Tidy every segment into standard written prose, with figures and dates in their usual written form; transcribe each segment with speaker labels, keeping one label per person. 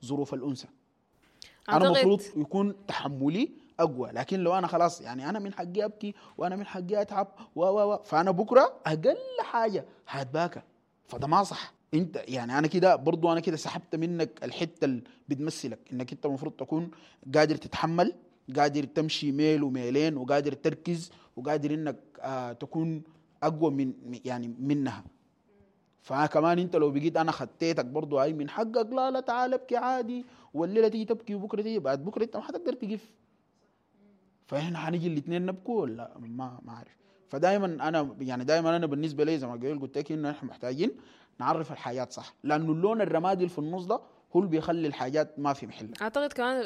Speaker 1: ظروف الانثى. انا المفروض يكون تحملي اقوى، لكن لو انا خلاص يعني انا من حقي ابكي وانا من حقي اتعب و و و فانا بكره اقل حاجة هتباكى، فده ما صح. انت يعني انا كده برضو انا كده سحبت منك الحتة اللي بتمثلك، انك انت المفروض تكون قادر تتحمل، قادر تمشي ميل وميلين، وقادر تركز، وقادر انك تكون اقوى من يعني منها. فكمان انت لو بقيت انا خطيتك برضو اي من حقك، لا لا تعال ابكي عادي، والليلة تيجي تبكي وبكره تيجي بعد بكره انت ما حتقدر تقف. فاحنا حنيجي الاثنين نبكوا ولا ما عارف. فدائما انا يعني دائما انا بالنسبة لي زي ما قلت لك انه احنا محتاجين نعرف الحاجات صح، لانه اللون الرمادي اللي في النص ده هو اللي بيخلي الحاجات ما في محلها.
Speaker 2: اعتقد كمان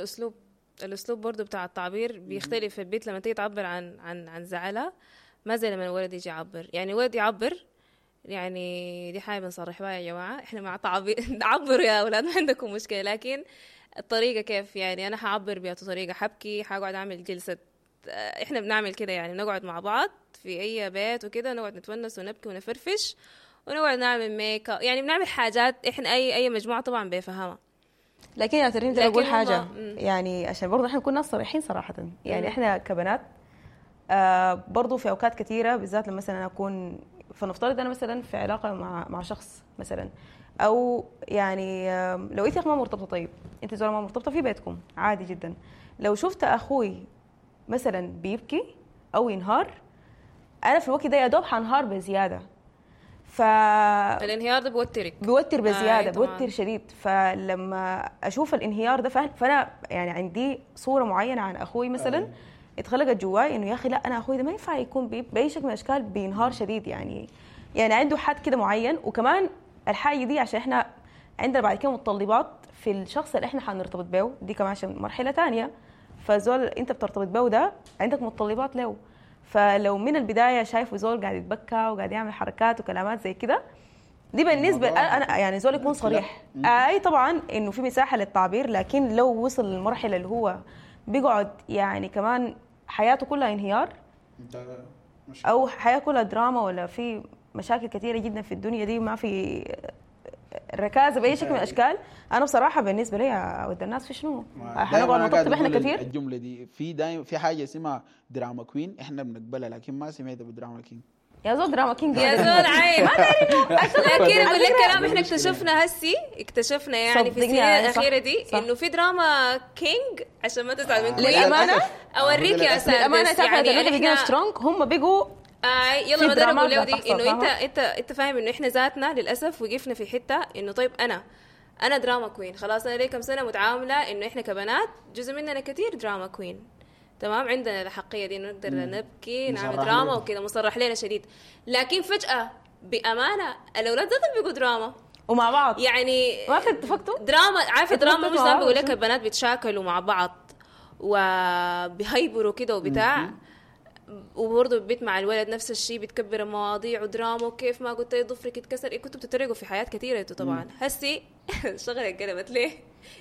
Speaker 2: الاسلوب برضو بتاع التعبير بيختلف في البيت لما تيجي تعبر عن عن عن زعلها، ما زي لما الولد يجي يعبر. يعني الولد يعبر، يعني دي حاجة بنصرح بها يا جماعة، احنا مع تعبير عبروا يا اولاد ما عندكم مشكلة، لكن الطريقة كيف؟ يعني انا حعبر بأي طريقه، حبكي، حقعد اعمل جلسه، احنا بنعمل كده يعني، بنقعد مع بعض في اي بيت وكده، نقعد نتونس ونبكي ونفرفش ونقعد نعمل make up، يعني بنعمل حاجات احنا اي مجموعة طبعا بيفهمها.
Speaker 3: لكن يا تريم اقول حاجة يعني عشان برضه احنا نكون ناس صريحين صراحة، يعني احنا كبنات برضه في اوقات كثيرة بالذات لما مثلا اكون، فنفترض انا مثلا في علاقة مع شخص مثلا، او يعني لو انت ما مرتبطة، طيب انت زول ما مرتبطة في بيتكم عادي جدا، لو شفت اخوي مثلا بيبكي او ينهار، انا في الوقت ده يا دوب حنهار بزيادة.
Speaker 2: الانهيار ده بيوترك،
Speaker 3: بيوتر بزيادة، بيوتر شديد. فلما اشوف الانهيار ده فانا يعني عندي صوره معينة عن اخوي مثلا اتخلقت جواي انه يا اخي لا، انا اخوي ده ما ينفع يكون باي شكل من الاشكال بينهار شديد، يعني عنده حد كده معين. وكمان الحاجة دي عشان احنا عندنا بعد كده متطلبات في الشخص اللي احنا حنرتبط به، دي كمان عشان مرحلة ثانية. فزول انت بترتبط به ده عندك متطلبات له، فلو من البداية شايفه زول قاعد يتبكى وقاعد يعمل حركات وكلامات زي كده، دي بالنسبة انا يعني زول يكون صريح. اي طبعا انه في مساحة للتعبير، لكن لو وصل للمرحلة اللي هو بيقعد يعني كمان حياته كلها انهيار او حياة كلها دراما، ولا في مشاكل كثيرة جدا في الدنيا دي، ما في ركازه باي شكل من الاشكال. انا بصراحة بالنسبة لي اود الناس في شنو حنقعد نطبطب احنا كثير.
Speaker 1: الجملة دي في دايما في حاجة اسمها drama queen، احنا بنقبلها، لكن ما سمعت ب drama king.
Speaker 3: يا زول drama king
Speaker 2: يا زول عين ما لكن اقول لك كلام احنا اكتشفنا هسي، اكتشفنا يعني في السنين الاخيرة دي انه في drama king، عشان ما تزعل من queen.
Speaker 3: للامانة
Speaker 2: اوريك يا سادس،
Speaker 3: للامانة يعني بقينا strong، هم بقوا
Speaker 2: يلا ما ده اقول له دي انه انت فاهم انه احنا ذاتنا للاسف وقفنا في حتة انه طيب انا drama queen خلاص، انا لي كم سنة متعامله انه احنا كبنات جزء مننا كثير drama queen، تمام، عندنا الحقيه دي انه نقدر نبكي نعمل دراما وكذا، مصرح لنا شديد. لكن فجاة بامانه الاولاد ذاتهم بيقوا دراما
Speaker 3: ومع بعض،
Speaker 2: يعني
Speaker 3: ما اتفقتوا
Speaker 2: دراما، عارفه دراما مش بقول لك البنات بيتشاكلوا مع بعض وبيهيبروا كده وبتاع، وبرضه البيت مع الولد نفس الشيء، بتكبر المواضيع ودراما، وكيف ما قلت لي ضفرك اتكسر، إيه كنتوا بتتريقوا في حياة كثيرة انتوا طبعا. هسي الشغلة اتقلبت ليه؟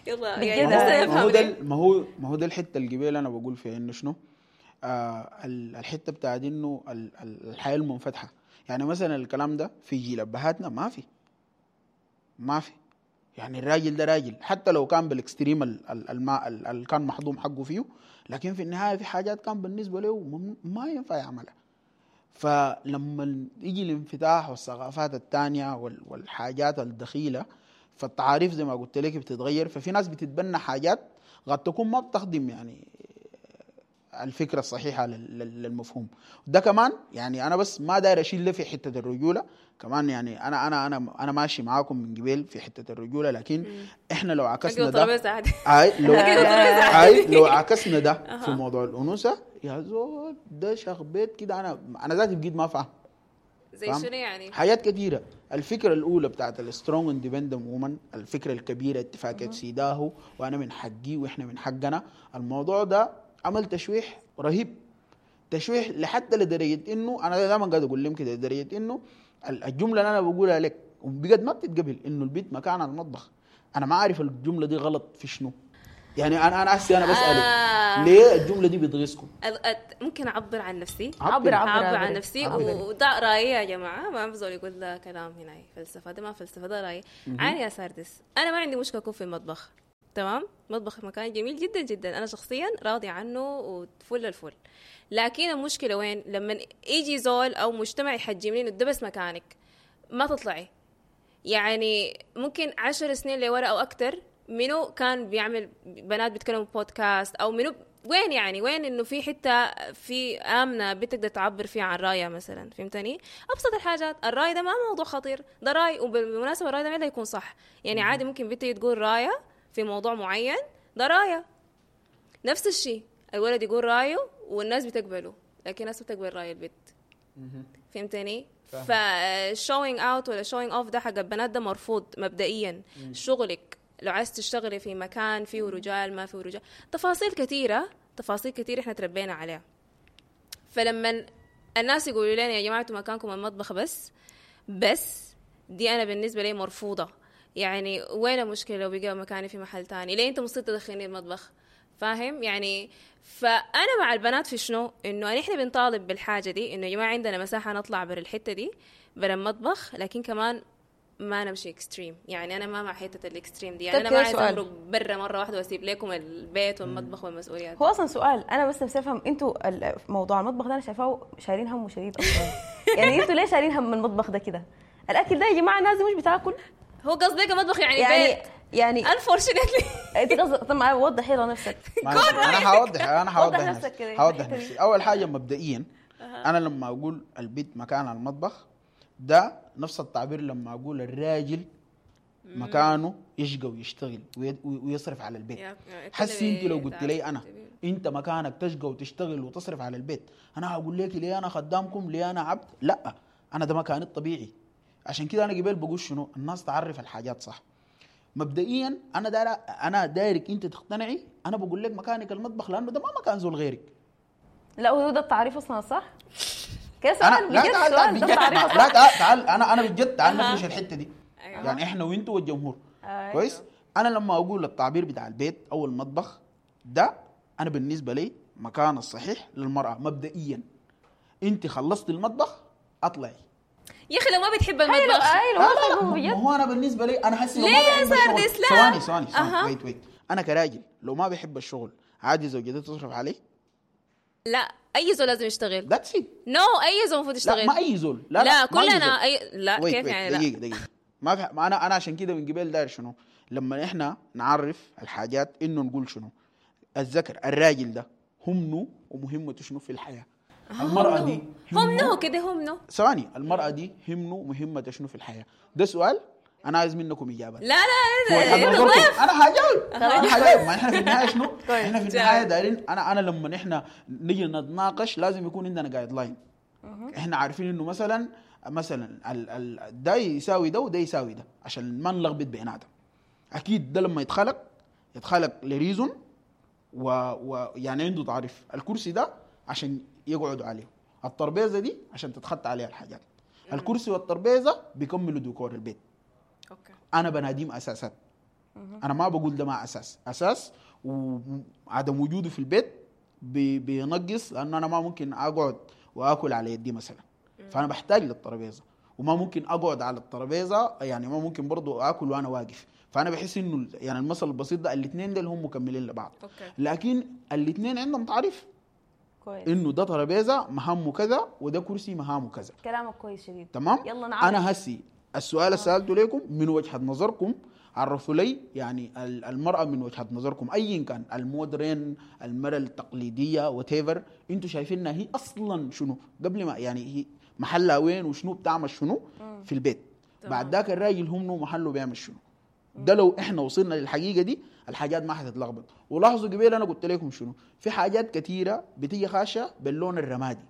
Speaker 2: يلا يعني
Speaker 1: ما هو ده الحتة الجبال انا بقول فيها انه شنو الحتة بتاعت انه الحياة المنفتحه. يعني مثلا الكلام ده في جيل ابهاتنا ما في، يعني الراجل ده راجل حتى لو كان بال extreme اللي كان محضوم حقه فيه، لكن في النهاية في حاجات كان بالنسبة له ما ينفع يعملها. فلما يجي الانفتاح والثقافات الثانية والحاجات الدخيله، فالتعاريف زي ما قلت لك بتتغير، ففي ناس بتتبنى حاجات قد تكون ما بتخدم يعني الفكرة الصحيحة للمفهوم ده. كمان يعني انا بس ما داير اشيل في حتة الرجولة كمان، يعني انا انا انا انا ماشي معاكم من قبل في حتة الرجولة، لكن احنا لو عكسنا ده لو عكسنا ده في موضوع الانوثة يا زول ده شخبيت كده، انا ذاتي بقيت ما فاهم
Speaker 2: زي شنو يعني
Speaker 1: حاجات كثيرة. الفكرة الاولى بتاعت ال strong independent woman، الفكرة الكبيرة اتفاقية سيداهو وانا من حقي واحنا من حقنا، الموضوع ده عمل تشويح رهيب، تشويح لحتى لدرجة انه انا دائما قاعد اقول لهم كده، لدرجة انه الجملة اللي انا بقولها لك وبجد ما بتتقبل، انه البيت مكان المطبخ. انا ما عارف الجملة دي غلط في شنو، يعني انا هسي انا بسالك ليه الجملة دي بتغيظكم؟
Speaker 2: ممكن اعبر عن نفسي، اعبر عن نفسي، وده رايي يا جماعة، ما بزول يقول ده كلام هنا فلسفة، ده ما فلسفة، ده رايي. عاني يا ساردس، انا ما عندي مشكلة اكون في المطبخ، تمام؟ مطبخ مكان جميل جدا جدا، انا شخصيا راضية عنه وفل الفل. لكن المشكلة وين؟ لما يجي زول او مجتمع يحجمني انه ده بس مكانك، ما تطلعي. يعني ممكن 10 سنين لورا او اكتر منو كان بيعمل بنات بيتكلموا بودكاست او منو وين، يعني وين انه في حتة في امنه بتقدر تعبر فيها عن رايها مثلا، فهمتني؟ ابسط الحاجات، الراي ده ما موضوع خطير، ده راي، وبالمناسبة الراي ده ما يكون صح، يعني عادي ممكن بنتي تقول رايه في موضوع معين، ده رايه. نفس الشيء الولد يقول رايه والناس بتقبله، لكن الناس بتقبل راي البنت، فهمتني؟ ف showing out ولا showing off ده حق البنات ده مرفوض مبدئيا. شغلك لو عايز تشتغلي في مكان فيه رجال ما فيه رجال، تفاصيل كثيرة، تفاصيل كثيرة احنا تربينا عليها. فلما الناس يقولوا لنا يا جماعة انتوا مكانكم المطبخ بس، بس دي انا بالنسبة لي مرفوضة. يعني وين المشكلة لو بقى مكاني في محل تاني؟ ليه انت مصر تدخلني المطبخ؟ فاهم يعني؟ فانا مع البنات في شنو؟ انه نحن بنطالب بالحاجة دي، انه يا جماعة عندنا مساحة نطلع بر الحتة دي، بر المطبخ، لكن كمان ما نمشي extreme. يعني انا ما مع حتة ال extreme دي، يعني انا ما عايزه امرق برا مرة واحدة واسيب لكم البيت والمطبخ والمسؤوليات.
Speaker 3: هو اصلا سؤال انا بس نفسي افهم، انتوا موضوع المطبخ ده انا شايفاه شايلين همه شديد اصلا. يعني انتوا ليه شايلين هم المطبخ ده كده؟ الاكل ده يا جماعة الناس مش بتاكل.
Speaker 2: هو قصدك المطبخ يعني بيت
Speaker 3: يعني
Speaker 2: unfortunately.
Speaker 3: انت قصدك؟ طب وضح يلا نفسك.
Speaker 1: انا هوضح، انا هوضح نفسي، هوضح نفسي. اول حاجة مبدئيا انا لما اقول البيت مكان المطبخ ده نفس التعبير لما اقول الراجل مكانه يشقى ويشتغل ويصرف على البيت. حسي انت لو قلت لي انا انت مكانك تشقى وتشتغل وتصرف على البيت، انا هقول لك ليه انا خدامكم، ليه انا عبد؟ لا، انا ده مكاني الطبيعي. عشان كده انا قبل بقول شنو، الناس تعرف الحاجات صح. مبدئيا انا انا دايرك انت تقتنعي، انا بقول لك مكانك المطبخ لانه ده ما مكان زول غيرك.
Speaker 3: لا هو ده التعريف اصلا صح؟ كيف سؤال؟
Speaker 1: لا تعال تعال بجد، لا تعال تعال، انا بجد تعال نفرش الحتة دي. يعني احنا وانتوا والجمهور. كويس؟ انا لما اقول التعبير بتاع البيت او المطبخ ده، انا بالنسبة لي مكان الصحيح للمراة مبدئيا. انت خلصتي المطبخ اطلعي.
Speaker 2: يا اخي لو ما بتحب المطبخ.
Speaker 1: ايوه هو انا بالنسبة لي انا حاسس
Speaker 2: ليه يا سردس؟
Speaker 1: لا ثواني ثواني wait wait، انا كراجل لو ما بحب الشغل عادي زوجتي تصرف عليه؟
Speaker 2: لا، اي زول لازم يشتغل.
Speaker 1: that's it.
Speaker 2: no، اي زول المفروض يشتغل.
Speaker 1: لا ما اي زول،
Speaker 2: لا لا كلنا اي لا wait كيف wait. يعني
Speaker 1: دقيقة دقيقة، ما في ما انا عشان كده من قبل داير شنو لما احنا نعرف الحاجات انه نقول شنو الذكر الراجل ده همنه ومهمته شنو في الحياة. المرأة دي
Speaker 2: همنه كده همنه
Speaker 1: ثواني، المرأة دي همنه مهمته شنو في الحياة؟ ده سؤال أنا عايز منكم إجابة.
Speaker 2: لا لا
Speaker 1: أنا هجاوب، أنا هجاوب. ما إحنا في النهاية شنو؟ إحنا في النهاية دايرين، أنا لما إحنا نيجي نتناقش لازم يكون عندنا guideline. إحنا عارفين إنه مثلا ده يساوي ده وده يساوي ده عشان ما نلخبط بيناتهم. أكيد ده لما يتخلق ل reason ويعني عنده تعريف. الكرسي ده عشان يقعدوا عليه، التربيزه دي عشان تتخطى عليها الحاجات. الكرسي والتربيزه بيكملوا ديكور البيت.
Speaker 2: okay.
Speaker 1: انا بناديم اساسات. انا ما بقول ده ما اساس، اساس وعدم وجوده في البيت بينقص، لانه انا ما ممكن اقعد واكل على يدي مثلا. فانا بحتاج للترابيزه، وما ممكن اقعد على الترابيزة، يعني ما ممكن برضو اكل وانا واقف. فانا بحس انه يعني المثل البسيط ده الاثنين دول هم مكملين لبعض.
Speaker 2: okay.
Speaker 1: لكن الاثنين عندهم تعريف
Speaker 3: كويس،
Speaker 1: انه ده ترابيزة مهامه كذا وده كرسي مهامه كذا.
Speaker 3: كلامك كويس شديد.
Speaker 1: تمام.
Speaker 3: يلا نعرف.
Speaker 1: انا هسي السؤال سالته لكم من وجهه نظركم، عرفوا لي يعني المراة من وجهه نظركم ايا كان، ال modern، المراة التقليدية، whatever، انتوا شايفينها هي اصلا شنو قبل ما يعني هي محلها وين وشنو بتعمل شنو في البيت. بعد ذاك الراجل هم محله بيعمل شنو. ده لو احنا وصلنا للحقيقة دي الحاجات ما حتتلخبط. ولاحظوا قبل انا قلت لكم شنو، في حاجات كثيرة بتيجي خاشه باللون الرمادي.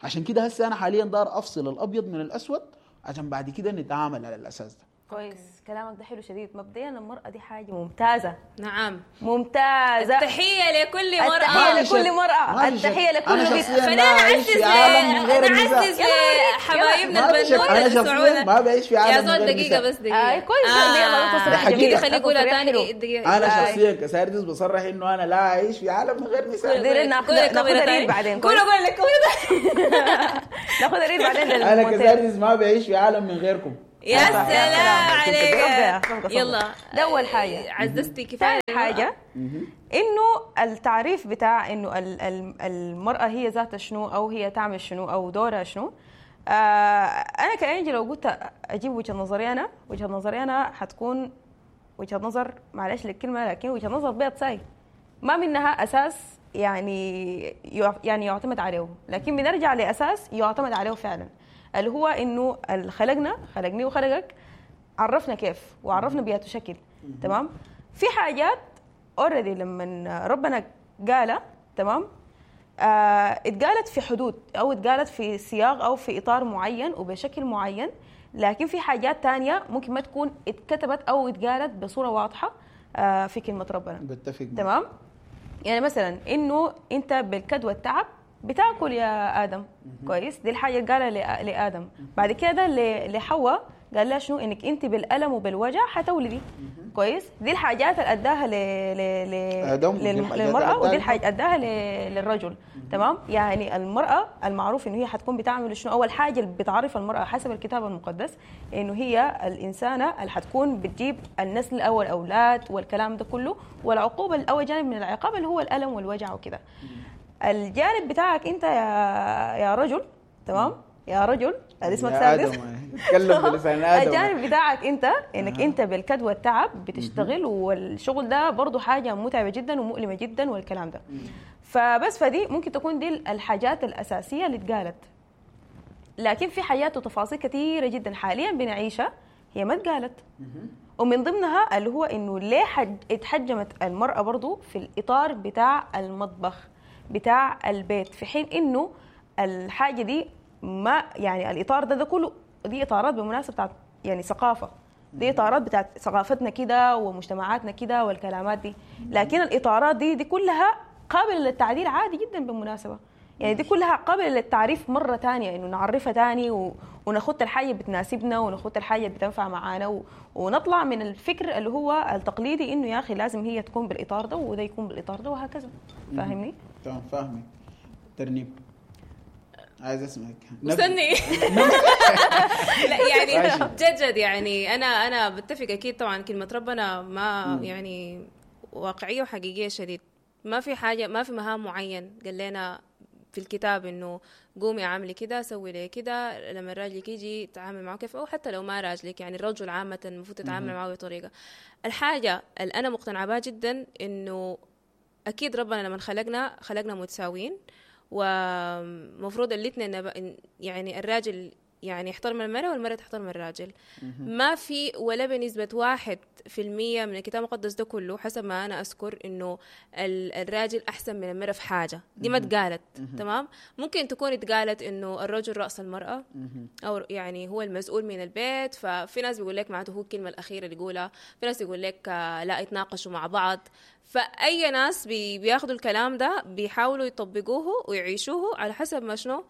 Speaker 1: عشان كده هسه انا حاليا دار افصل الابيض من الاسود عشان بعد كده نتعامل على الاساس ده.
Speaker 3: كويس، كلامك ده حلو شديد. مبدئيا المرأة دي حاجة ممتازة.
Speaker 2: نعم
Speaker 3: ممتازة.
Speaker 2: التحية لكل مرأة،
Speaker 3: التحية لكل مرأة، التحية لكل بنت.
Speaker 2: خلينا نعزز لحبايبنا البنوتة السعودة.
Speaker 1: ما بعيش في عالم
Speaker 2: يا زول دقيقة بس دقيقة.
Speaker 3: كويس يلا تصريح جميل.
Speaker 2: خلي قولها ثاني دقيقة.
Speaker 1: أنا شخصيا كساردس بصرح إنه أنا لا أعيش في عالم من غير نساء.
Speaker 3: ناخذ reel بعدين.
Speaker 2: قول قول لك
Speaker 3: ناخذ reel بعدين.
Speaker 1: أنا كساردس ما بعيش في عالم من غيركم.
Speaker 2: يا سلام عليك.
Speaker 3: صفقة.
Speaker 2: يلا.
Speaker 3: ده أول حاجة.
Speaker 2: عززتي كفاية.
Speaker 3: ثاني حاجة انه التعريف بتاع انه المراة هي ذاتها شنو، او هي تعمل شنو، او دورها شنو. انا كأنجي لو قلت اجيب وجهه نظري انا، وجهه نظري انا حتكون وجهه نظر، معلش للكلمة، لكن وجهه نظر بيض ساي، ما منها اساس يعني يعتمد عليه، لكن بنرجع لاساس يعتمد عليه فعلا، اللي هو انه خلقنا، خلقني وخلقك، عرفنا كيف وعرفنا بياته شكل. تمام؟ في حاجات already لما ربنا قالها، تمام، اتقالت في حدود او اتقالت في سياق او في اطار معين وبشكل معين، لكن في حاجات تانية ممكن ما تكون اتكتبت او اتقالت بصورة واضحة في كلمة ربنا.
Speaker 1: بتفق.
Speaker 3: تمام؟ يعني مثلا انه انت بالكد والتعب بتاكل يا ادم، كويس، دي الحاجة اللي قالها لادم. بعد كده لحواء قال لها شنو؟ انك انت بالالم وبالوجع حتولدي. كويس، دي الحاجات اللي اداها للمراة، ودي الحاجات اداها للرجل. تمام؟ يعني المراة المعروف انه هي حتكون بتعمل شنو؟ اول حاجة اللي بتعرف المراة حسب الكتاب المقدس انه هي الانسانة اللي حتكون بتجيب النسل او الاولاد والكلام ده كله، والعقوبة الاول جانب من العقاب اللي هو الالم والوجع وكده. الجانب بتاعك انت يا رجل، تمام، يا رجل اسمك سادس،
Speaker 1: اتكلم بلسان ادم.
Speaker 3: الجانب بتاعك انت انك انت بالكد والتعب بتشتغل، والشغل ده برضو حاجة متعبة جدا ومؤلمة جدا والكلام ده. فبس فدي ممكن تكون دي الحاجات الاساسية اللي اتقالت، لكن في حاجات وتفاصيل كثيرة جدا حاليا بنعيشها هي ما اتقالت. ومن ضمنها اللي هو انه ليه اتحجمت المراة برضو في الاطار بتاع المطبخ بتاع البيت، في حين انه الحاجة دي ما يعني الاطار ده كله دي اطارات بالمناسبة بتاعت يعني ثقافة، دي اطارات بتاعت ثقافتنا كده ومجتمعاتنا كده والكلامات دي، لكن الاطارات دي كلها قابله للتعديل عادي جدا بالمناسبة. يعني دي كلها قابله للتعريف مرة ثانية، انه نعرفها ثاني وناخد الحاجة بتناسبنا وناخد الحاجة بتنفع معانا ونطلع من الفكر اللي هو التقليدي انه يا اخي لازم هي تكون بالاطار ده وده يكون بالاطار ده وهكذا. فاهمني؟
Speaker 1: تمام، فاهمك. ترنيم عايز اسمعك.
Speaker 2: استني. لا يعني جد يعني انا بتفق اكيد طبعا، كلمة ربنا ما يعني واقعية وحقيقيه شديد. ما في حاجة، ما في مهام معين قال لنا في الكتاب انه قومي اعملي كده، سوي لي كده، لما راجلك يجي تعامل معه كيف، او حتى لو ما راجلك، يعني الرجل عامة المفروض تتعامل معه بطريقة. الحاجة اللي انا مقتنعة بها جدا انه اكيد ربنا لما خلقنا متساويين، ومفروض الاثنين يعني الراجل يعني يحترم المرأة والمرأة تحترم الراجل. ما في ولا بنسبة 1% من الكتاب المقدس ده كله حسب ما أنا أذكر إنه الراجل أحسن من المرأة في حاجة، دي ما اتقالت. تمام، ممكن تكون اتقالت إنه الرجل رأس المرأة أو يعني هو المسؤول من البيت، ففي ناس بيقول لك معناته هو الكلمة الأخيرة اللي يقولها، في ناس يقول لك لا يتناقشوا مع بعض. فأي ناس بياخدوا الكلام ده بيحاولوا يطبقوه ويعيشوه على حسب ما شنو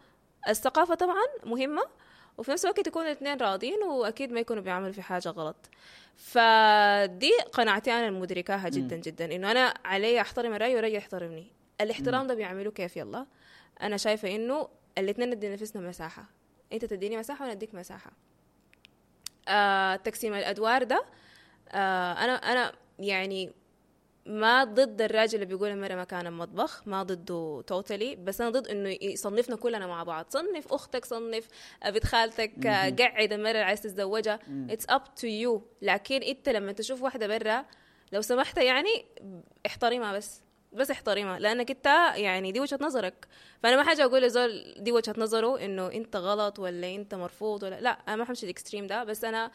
Speaker 2: الثقافة طبعا مهمة، وفي نفس الوقت يكونوا الاثنين راضين واكيد ما يكونوا بيعملوا في حاجة غلط. فدي قناعتي انا المدركاها جدا جدا، انه انا علي احترم الراي والراي يحترمني. الاحترام ده بيعملوه كيف؟ يلا انا شايفه انه الاثنين ندي نفسنا مساحة، انت تديني مساحة وانا اديك مساحة. تقسيم الادوار ده انا يعني ما ضد الراجل اللي بيقول المرأة مكان المطبخ، ما ضده توتالي، بس أنا ضد إنه يصنفنا كلنا مع بعض. صنف أختك، صنف بنت خالتك، قعد المرأة اللي عايز تتزوجها، it's up to you. لكن أنت لما تشوف واحدة برا لو سمحت يعني احترمها، بس احترمها، لأنك أنت يعني دي وجهة نظرك. فأنا ما حاجة أقول لزول دي وجهة نظره إنه أنت غلط ولا أنت مرفوض ولا لا، أنا ما حمشي ال extreme ده، بس أنا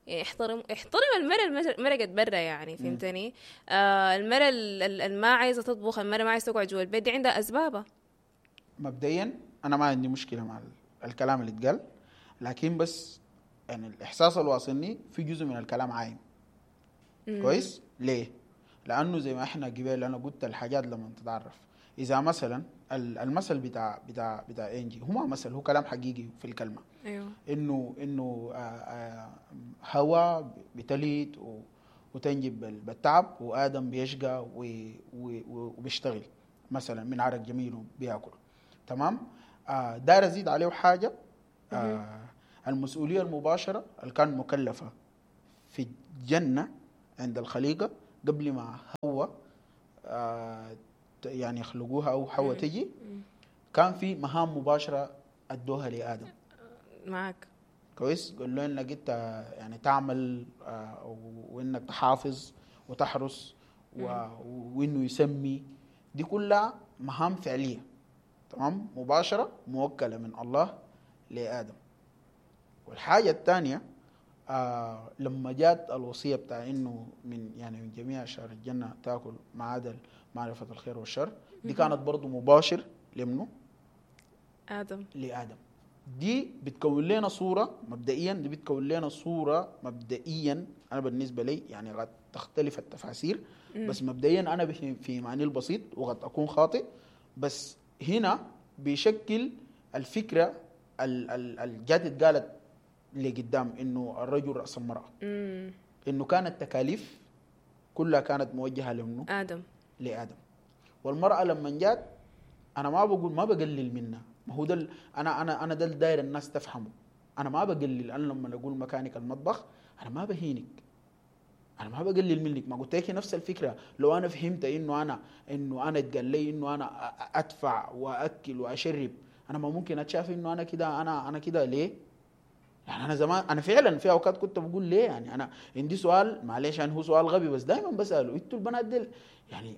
Speaker 2: يعني احترم المرأة مرقت برا يعني، فهمتني؟ المرأة اللي ما عايزة تطبخ، المرأة ما عايزة تقعد جوا البيت، دي عندها أسبابها.
Speaker 1: مبدئيا أنا ما عندي مشكلة مع الكلام اللي اتقال، لكن بس يعني الإحساس اللي واصلني في جزء من الكلام عايم. كويس؟ ليه؟ لأنه زي ما احنا قبل أنا قلت الحاجات لما تتعرف، إذا مثلا المثل بتاع بتاع بتاع إنجي هو ما مثل، هو كلام حقيقي في الكلمة.
Speaker 2: أيوه.
Speaker 1: إنه هوا بتليت وتنجب بالتعب، وآدم بيشقى وبيشتغل مثلا من عرق جميل وبياكل. تمام؟ داير أزيد عليه حاجة. المسؤولية المباشرة اللي كان مكلفة في الجنة عند الخليقة قبل ما حواء يعني يخلقوها او حواء تجي، كان في مهام مباشرة ادوها لادم.
Speaker 2: معك.
Speaker 1: كويس. قال له انك انت يعني تعمل وانك تحافظ وتحرس وانه يسمي، دي كلها مهام فعليه، تمام، مباشرة موكله من الله لادم. والحاجة الثانية لما جات الوصية بتاع انه من يعني من جميع اشجار الجنة تاكل ما عدا معرفة الخير والشر، دي كانت برضو مباشر لمنه؟
Speaker 2: ادم.
Speaker 1: لادم. دي بتكون لنا صوره مبدئيا، دي بتكون لنا صوره مبدئيا، انا بالنسبة لي يعني قد تختلف التفاسير، بس مبدئيا انا في معني البسيط وقد اكون خاطئ، بس هنا بيشكل الفكرة الجات اتقالت لقدام انه الرجل راس المراة، انه كانت التكاليف كلها كانت موجهة لمنه؟
Speaker 2: ادم.
Speaker 1: لادم. والمراة لما جات، انا ما بقول ما بقلل منها، ما هو ده انا انا ده الداير الناس تفهمه، انا ما بقلل، انا لما اقول مكانك المطبخ انا ما بهينك، انا ما بقلل منك، ما قلت لك نفس الفكرة. لو انا فهمت انه انا اتقال لي انه انا ادفع واكل واشرب، انا ما ممكن اتشاف انه انا كده، انا كده ليه؟ يعني انا زمان انا فعلا في اوقات كنت بقول ليه، يعني انا عندي سؤال، معلش يعني هو سؤال غبي بس دائما بساله، انتوا البنات ديل يعني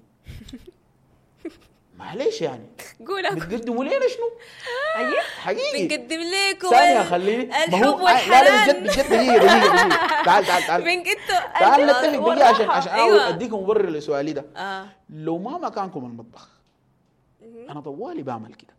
Speaker 1: معلش يعني
Speaker 2: قول
Speaker 1: بتقدموا لنا شنو؟
Speaker 3: ايوه
Speaker 1: حقيقي
Speaker 2: بنقدم لكم
Speaker 1: ثانية خليني
Speaker 2: الحب والحنان.
Speaker 1: لا لا بجد دقيقة تعال تعال تعال تعال نتفق دقيقة عشان أيوة. أديكم مبرر لسؤالي ده. لو ما مكانكم المطبخ أنا طوالي بعمل كده،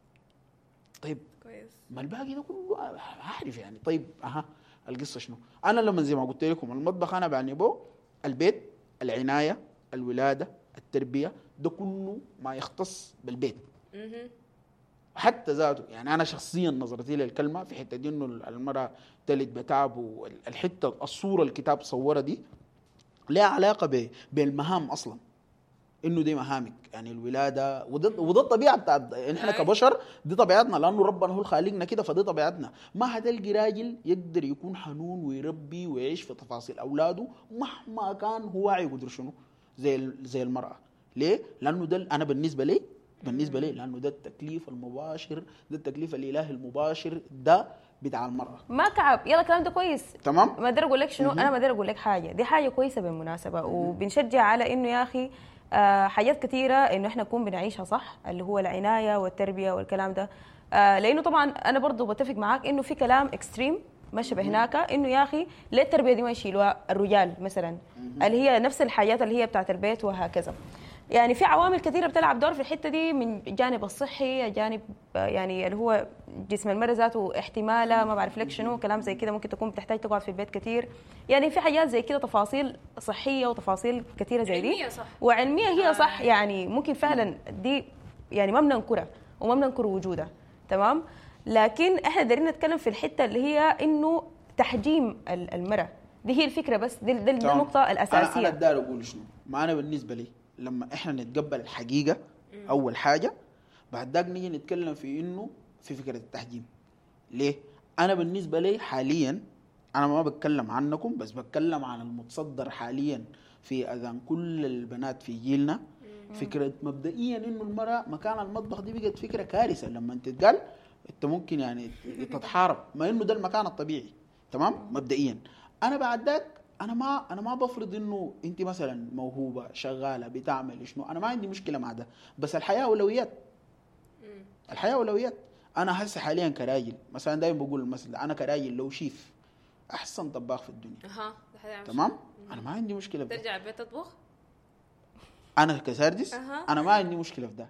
Speaker 1: طيب
Speaker 2: كويس،
Speaker 1: ما الباقي ده كله أعرف يعني. طيب أها القصة شنو؟ أنا لما زي ما قلت لكم المطبخ أنا بعني به البيت، العناية، الولادة، التربية، ده كله ما يختص بالبيت. حتى ذاته يعني انا شخصيا نظرتي للكلمة في حتة دي انه المراة تلد بتعب، والحتة الصورة الكتاب صورها دي لها علاقة بالمهام اصلا، انه دي مهامك يعني الولادة، وده الطبيعة بتاعت احنا كبشر، دي طبيعتنا لانه ربنا هو خالقنا كده، فدي طبيعتنا. ما هتلقي راجل يقدر يكون حنون ويربي ويعيش في تفاصيل اولاده مهما كان هو واعي قدر شنو زي المراة. ليه؟ لانه ده انا بالنسبة لي لانه ده التكليف المباشر، ده التكليف الالهي المباشر ده بتاع المراة.
Speaker 3: ما كعب، يلا الكلام ده كويس
Speaker 1: تمام.
Speaker 3: ما اقدر اقول لك شنو، انا ما اقدر اقول لك حاجة، دي حاجة كويسة بالمناسبة، وبنشجع على انه يا اخي حاجات كثيرة انه احنا نكون بنعيشها صح، اللي هو العناية والتربية والكلام ده، لانه طبعا انا برضو بتفق معاك انه في كلام extreme ماشي بهناك، انه يا اخي ليه التربية دي ما يشيلوها الرجال مثلا، اللي هي نفس الحاجات اللي هي بتاعت البيت وهكذا. يعني في عوامل كثيرة بتلعب دور في الحتة دي، من جانب الصحي، جانب يعني اللي هو جسم المرأة ذاته احتماله ما بعرف لك شنو، كلام زي كده، ممكن تكون بتحتاج تقعد في البيت كثير، يعني في حاجات زي كده، تفاصيل صحية وتفاصيل كثيرة زي دي،
Speaker 2: علمية صح.
Speaker 3: وعلميه هي صح، يعني ممكن فعلا دي يعني ما بننكرها وما بننكر وجودها، تمام. لكن احنا دايرين نتكلم في الحتة اللي هي انه تحجيم المرأة، دي هي الفكرة، بس دي النقطة الاساسية.
Speaker 1: انا داير اقول شنو، ما انا بالنسبة لي لما احنا نتقبل الحقيقة اول حاجة، بعد ذاك نيجي نتكلم في انه في فكرة التحجيم. ليه؟ انا بالنسبة لي حاليا، انا ما بتكلم عنكم بس بتكلم عن المتصدر حاليا في اذان كل البنات في جيلنا، فكرة مبدئيا انه المراة مكان المطبخ دي بقت فكرة كارثة. لما تتقال انت ممكن يعني تتحارب، ما انه ده المكان الطبيعي، تمام مبدئيا. انا بعد ذاك انا ما بفرض انه انت مثلا موهوبه شغالة بتعمل شنو، انا ما عندي مشكلة مع ده، بس الحياة اولويات. الحياة اولويات. انا هسه حاليا كراجل مثلا دايما بقول المثل، انا كراجل لو شيف احسن طباخ في الدنيا، تمام، انا ما عندي مشكلة في ده.
Speaker 2: ترجع البيت تطبخ؟
Speaker 1: انا كساردس انا ما عندي مشكلة في ده.